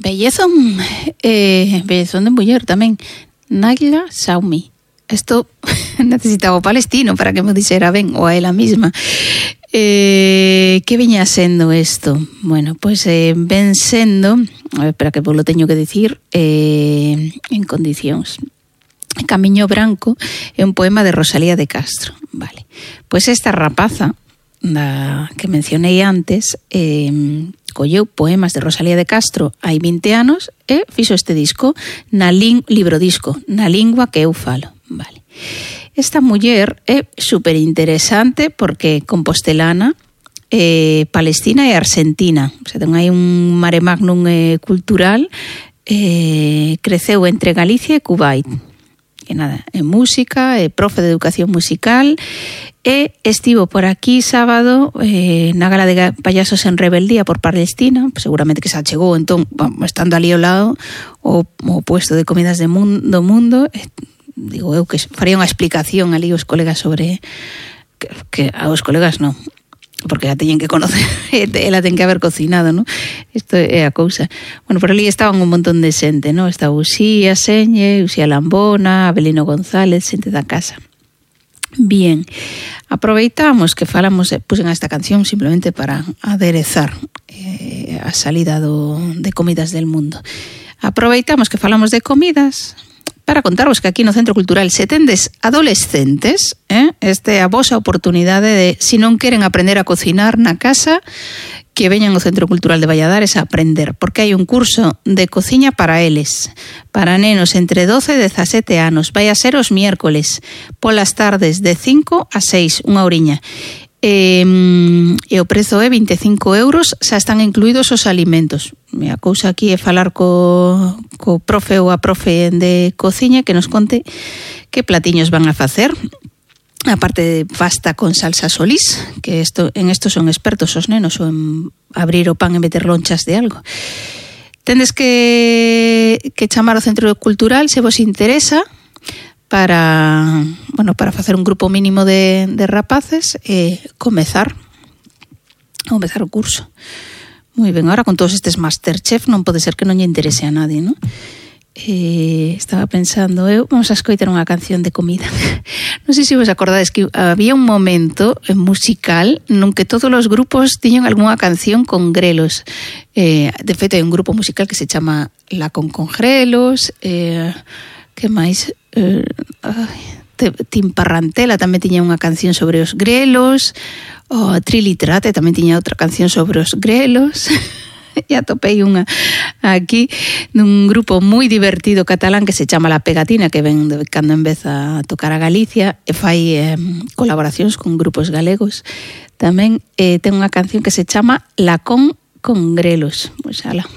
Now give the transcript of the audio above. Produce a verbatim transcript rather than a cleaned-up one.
Bellezón, eh, bellezón de muller tamén. Nayla Saumi. Esto necesitaba o palestino para que me dixera ben, ou a ela misma. Eh, que viña sendo isto? Bueno, pois pues, eh, ven sendo, a ver, espera que vos lo teño que dicir eh, en condicións. Camiño Branco é un poema de Rosalía de Castro. Vale. Pois pues esta rapaza da que mencionei antes eh, colleu poemas de Rosalía de Castro hai vinte anos e fixo este disco na ling, libro disco, na lingua que eu falo. Vale. Esta muller é super interesante porque compostelana, eh, palestina e argentina. O sea, ten aí un mare magnum eh, cultural, eh, creceu entre Galicia e Kuwait. Que nada, é música, é profe de educación musical e estivo por aquí sábado eh, na gala de payasos en rebeldía por Palestina, seguramente que se achegou, entón, estando ali ao lado o, o puesto de comidas de mundo, do mundo, eh, digo eu que faría unha explicación ali aos colegas sobre que, que aos colegas non, porque a teñen que conocer, ela ten que haber cocinado, ¿no? Isto é a cousa. Bueno, por ali estaban un montón de xente, ¿no? Está Uxía Señe, Uxía Lambona, Abelino González, xente da casa. Bien, aproveitamos que falamos, pusen esta canción simplemente para aderezar eh, a salida do, de Comidas del Mundo. Aproveitamos que falamos de comidas para contarvos que aquí no Centro Cultural se tendes adolescentes, eh? Este é a vosa oportunidade de, se non queren aprender a cocinar na casa, que veñan ao Centro Cultural de Valladares a aprender, porque hai un curso de cociña para eles, para nenos entre doce e dezasete anos. Vai a ser os miércoles, polas tardes de cinco a seis, unha horiña. E, e o prezo é vinte e cinco euros, xa están incluídos os alimentos. A cousa aquí é falar co, co profe ou a profe de cociña que nos conte que platiños van a facer. Aparte de pasta con salsa solís, que esto, en esto son expertos os nenos, ou en abrir o pan e meter lonchas de algo. Tendes que, que chamar ao Centro Cultural se vos interesa para, bueno, para facer un grupo mínimo de, de rapaces e comezar comezar o curso. Moi ben, ahora con todos estes Masterchef non pode ser que non lle interese a nadie, non? Eh, estaba pensando eu, vamos a escoitar unha canción de comida. Non sei se vos acordades que había un momento musical nun que todos os grupos tiñan algunha canción con grelos. Eh, de feito, hai un grupo musical que se chama La Con con Grelos, eh, que máis... Eh, Tim Parrantela tamén tiña unha canción sobre os grelos, o Triliterate tamén tiña outra canción sobre os grelos. E atopei unha aquí dun grupo moi divertido catalán que se chama La Pegatina, que ven de cando en vez a tocar a Galicia e fai eh, colaboracións con grupos galegos. Tamén eh, ten unha canción que se chama La Con con Grelos. Pois ala.